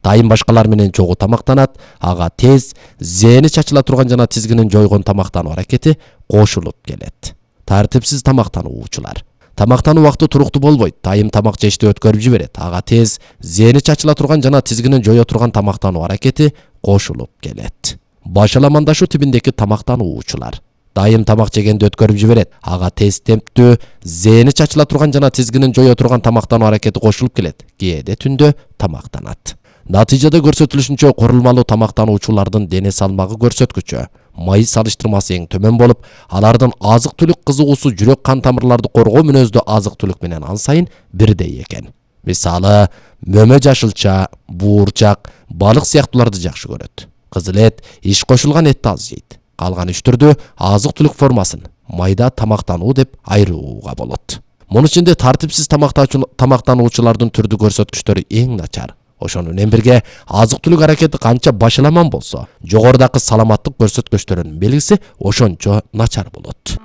Дайым башкалар менен чогуу тамактанат, ага тез, зээни чачыла турган жана тизгинин жойгон тамактануу аракети кошулуп келет. Тартипсиз тамактануучулар. Тамактануу убакыты туруктуу болбойт. Дайым тамак жешти өткөрүп жиберет. Ага тез, зээни чачыла турган жана тизгинин жое турган тамактануу аракети кошулуп келет. Башаламандашуу тибиндеги тамактануучулар. Дайым тамак жегенди өткөрүп жиберет. Ага тез темптүү, зээни чачыла турган жана тизгинин жое турган тамактануу аракети кошулуп келет. Кээде түндө тамактанат. Натыйжада көрсөтүлүшүнчө курулмалуу тамактануучулардын дене салмагы көрсөткүчү май салыштырмасы эң төмөн болуп, алардын азык-түлүк кызыгуусу жүрөк кан тамырларды коргоо мүнөздүү азык-түлүк менен ан сайын бирдей экен. Мисалы, мөмө жашылча, буурчак, балык сыяктууларды жакшы көрөт. Кызыл эт, иш кошулган этти аз жейт. Калган үч түрдүү азык-түлүк формасын майда тамактануу деп айырууга болот. Мунун ичинде тартипсиз тамактануучулардын түрдүү көрсөткүчтөрү эң начар. Ошону менен бирге азык-түлүк аракети канча башаламан болсо, жогорудагы саламаттык көрсөткүчтөрүнүн белгиси ошончо начар болот.